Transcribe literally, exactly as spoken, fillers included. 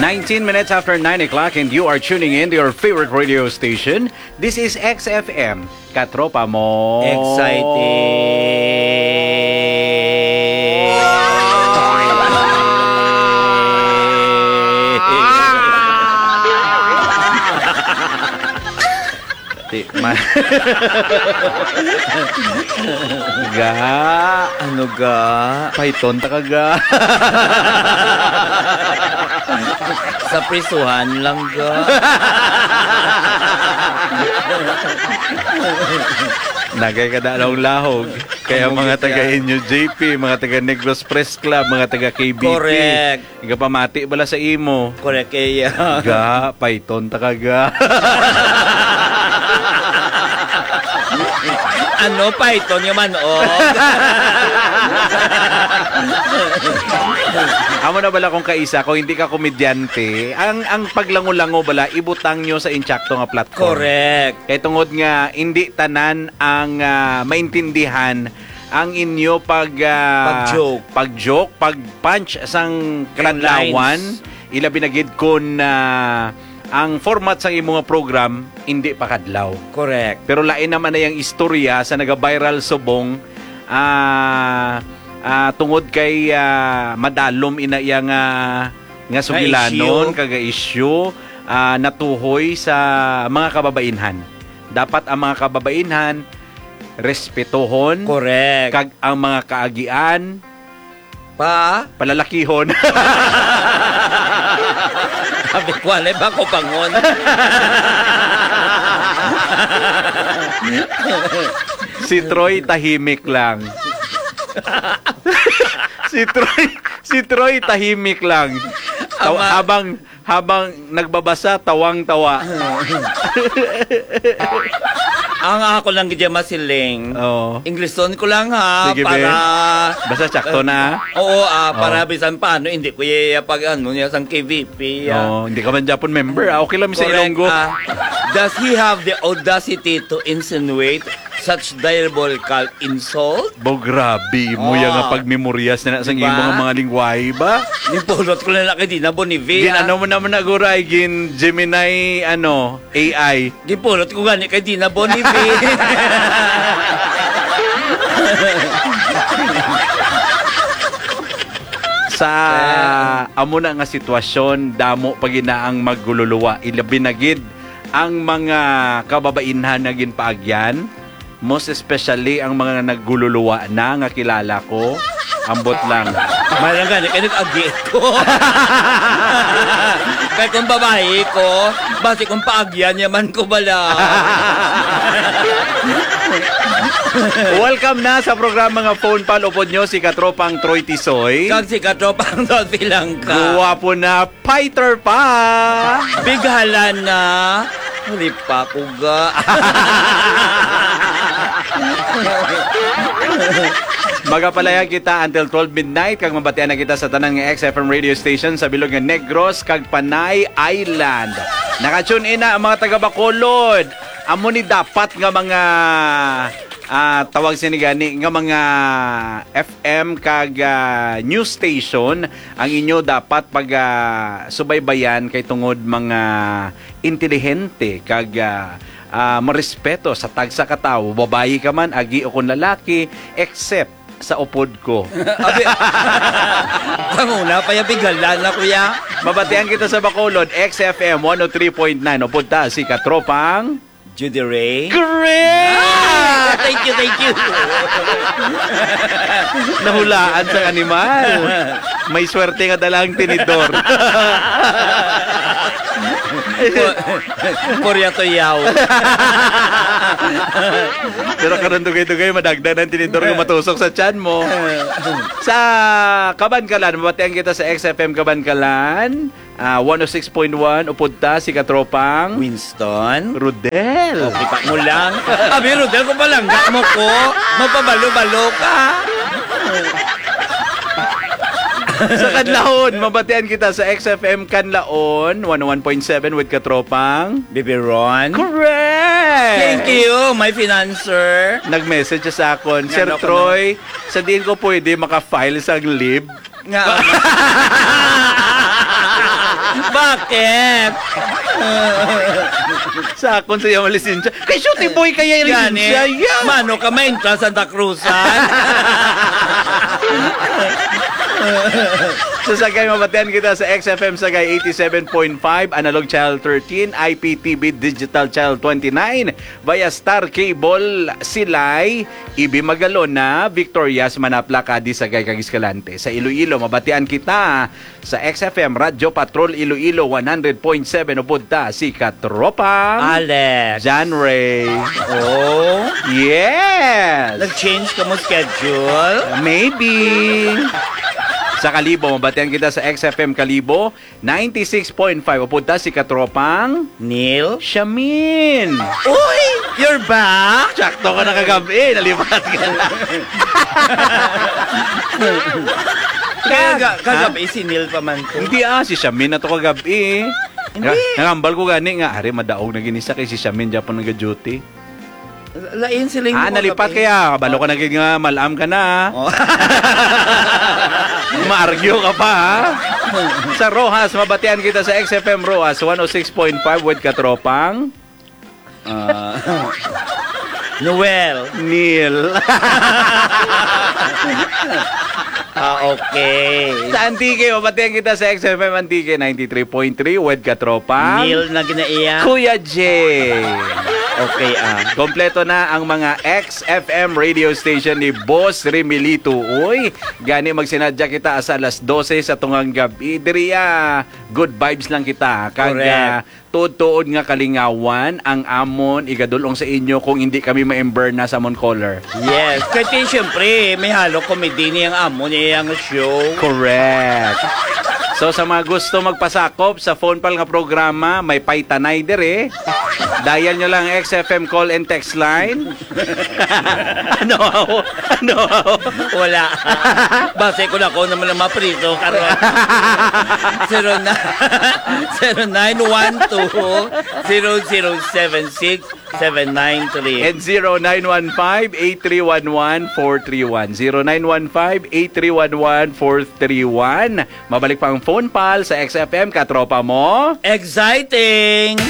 Nineteen minutes after nine o'clock, and you are tuning in to your favorite radio station. This is X F M, Katropa Mo. Exciting. Ti-, ma-, ga, ano ga? Python ta ka ga? Sa prisuhan lang ga. Nagay ka na lahog. Kaya Ang mga mga taga tiyan. Inyo, J P, mga taga Negros Press Club, mga taga K B P. Correct. Igapamati bala sa imo. Correct, eh, yeah. Ga, Python ta ka ga. Ano, Python nga man-og? Amo na bala kung kaisa, kung hindi ka komedyante, ang, ang paglango-lango bala, ibutang nyo sa insakto nga platform. Correct. Kay tungod nga, hindi tanan ang, ah, maintindihan ang inyo pag, ah, Pag-joke. pag-joke, pag-punch sang Yung kaadlawan, lines. Ilabi na gid kun, ah, ang format sang imo nga program hindi pa kadlaw. Correct. Pero lain naman na yang istorya sa naga-viral subong, ah, ah, tungod kay, ah, madalom ina iya nga, nga Nga sugilanon, issue. Kag issue, ah, natuhoy sa mga kababainhan. Dapat ang mga kababainhan respetohon Correct. kag ang mga kaagian Pa? palalakihon. Sabi ko, "Ano ba ko pangon?" Si Troy tahimik lang. Si Troy, si Troy tahimik lang. Taw-, Ama. habang Habang nagbabasa, tawang-tawa. Ang ako lang gid masiling. Oo. Ingleson ko lang, ha, Sige, para be. Basta sakto na. Oo, ah, para Oo. bisan paano, hindi ko iya pag ano niya sang K V P, ah. Oo, hindi ka man Japon member, ah. Okay lang sa Correct, Ilonggo. ah. Does he have the audacity to insinuate such diabolical insult? Bo, grabe mo Ah. yang nga pagmemoryas na, na sa Diba? imo nga mga lingwahe ba? Gipulot ko na lang kay Dina Bonivi, Gin, ah. ano mo naman na, guray? Gin Gemini, ano, A I. Gipulot ko gani kay Dina Bonivi. Sa Eh. amo na nga sitwasyon, damo pa gina ang magluluwa. Ilabi na gid ang mga kababainhan nga ginpaagyan, most especially ang mga nagluluwa na nga kilala ko. Ambot lang. May lang gani, kay nag-agi ko. Kay kung babae ko, basi kung paagyan niya man ko bala. Welcome na sa programa nga Phone Pal. Upod nyo si Katropang Troy Tisoy. Kag si Katropang Dolphy Langka. Guwapo na, fighter pa. Bighala na. Huli pa ko ga. Magapalayan kita until twelve midnight, kag mabatian na kita sa tanan nga X F M radio station sa bilog nga Negros kag Panay Island. Naka-tune in na ang mga taga Bacolod. Amo ni dapat nga mga, ah, tawag sini gani, nga mga F M kag, ah, news station ang inyo dapat pag, ah, subaybayan kay tungod mga intelihente kag, ah, ah, marespeto sa tagsa ka tawo, babayi ka man, agi o kon lalaki, except sa upod ko. Abi, panguna pa ya, bighala na, kuya. Mabatian kita sa Bacolod, X F M one oh three point nine. Upod ta si Katropang Judy Ray. Correct! Ah, thank you, thank you. Nahulaan sang animal. May swerte nga dala ang tinidor. Pu-, purya tuyaw. Pero karon dugay-dugay, madagdag ang tinidor nga matusok sa tiyan mo. Sa Kabankalan, mabatian kita sa X F M Kabankalan. Ah, one oh six point one, upod ta si Katropang Winston. Rodel. Oh, kita mo lang. Abi, Rodel, kung palangga mo ko, magpabalo-balo ka. Sa Kanlaon, mabatian kita sa X F M Kanlaon, one oh one point seven with Katropang Bibiron. Correct! Thank you, my financer. Nag-message siya sa akon, "Sir Ano ko Troy, sa diin ko pwede maka-file sa leave?" Nga. Ba, Ket. Sa akon sa iyang lisensya. Kay shooting boy kaya yung Gani, lisensya. Yeah. Mano ka mainta Santa Cruzan? Sa Sagay, mabatian kita sa X F M Sagay eighty-seven point five, Analog Channel thirteen, I P T V Digital Channel twenty-nine, via Star Cable, Silay, Ibi Magalona, Victorias, Manapla, Cadiz, Sagay, kag Escalante. Sa Iloilo, mabatian kita sa X F M Radyo Patrol Iloilo one hundred point seven, upod ta si Katropang Alex. John Ray. Oh. Yes. Nag-change ka mo schedule? Maybe. Sa Kalibo, mabatian kita sa X F M Kalibo, ninety-six point five. Upod ta si Katropang Neil? Shamin. Uy! You're back? Sakto ka na kagabi. Nalipat ka na. Kaya ga- Ha? Kagabi si Neil pa man to. Hindi ah, si Shamin na to kagabi. Hindi. Nga, nangambal ko gani nga, ari, madaog na gini sa kay si Shamin dyan po nag-duty. Lain sila yung Ah, nalipat kagabi. Kaya, balo ka na gid nga, malam ka na. Oh. Maargyo ka pa, ha? Sa Roxas, mabatian kita sa X F M Roxas, one oh six point five with Katropang. Ah, Noel. Neil. Ah, okay. Sa Antique, mabatian kita sa X F M Antique, ninety-three point three, with Katropang Neil na ginaiya. Kuya J. Okay, ah. Kompleto na ang mga X F M radio station ni Boss Remilito. Uy, gani magsinadya kita sa alas dose sa tungang gabi. Diri, ah, good vibes lang kita. Kag, Correct. Ah, tuod-tuod nga kalingawan ang amon igadul-ong sa inyo kung hindi kami ma-ember na sa amon caller. Yes. Kaya siyempre, may halo comedy niyang amon, niyang show. Correct. So, sa mga gusto magpasakop sa phone pal nga programa, may paytanay diri. Dial nyo lang ang X F M call and text line. Ano ako? Ano ako? Wala. Base ko na ako naman ang mapriso karon. Zero na, zero nine one two, zero zero seven six, seven nine three. And zero nine one five, eight three one one, four three one. Zero nine one five, eight three one one, four three one. Mabalik pa ang phone pal sa X F M, katropa mo. Exciting!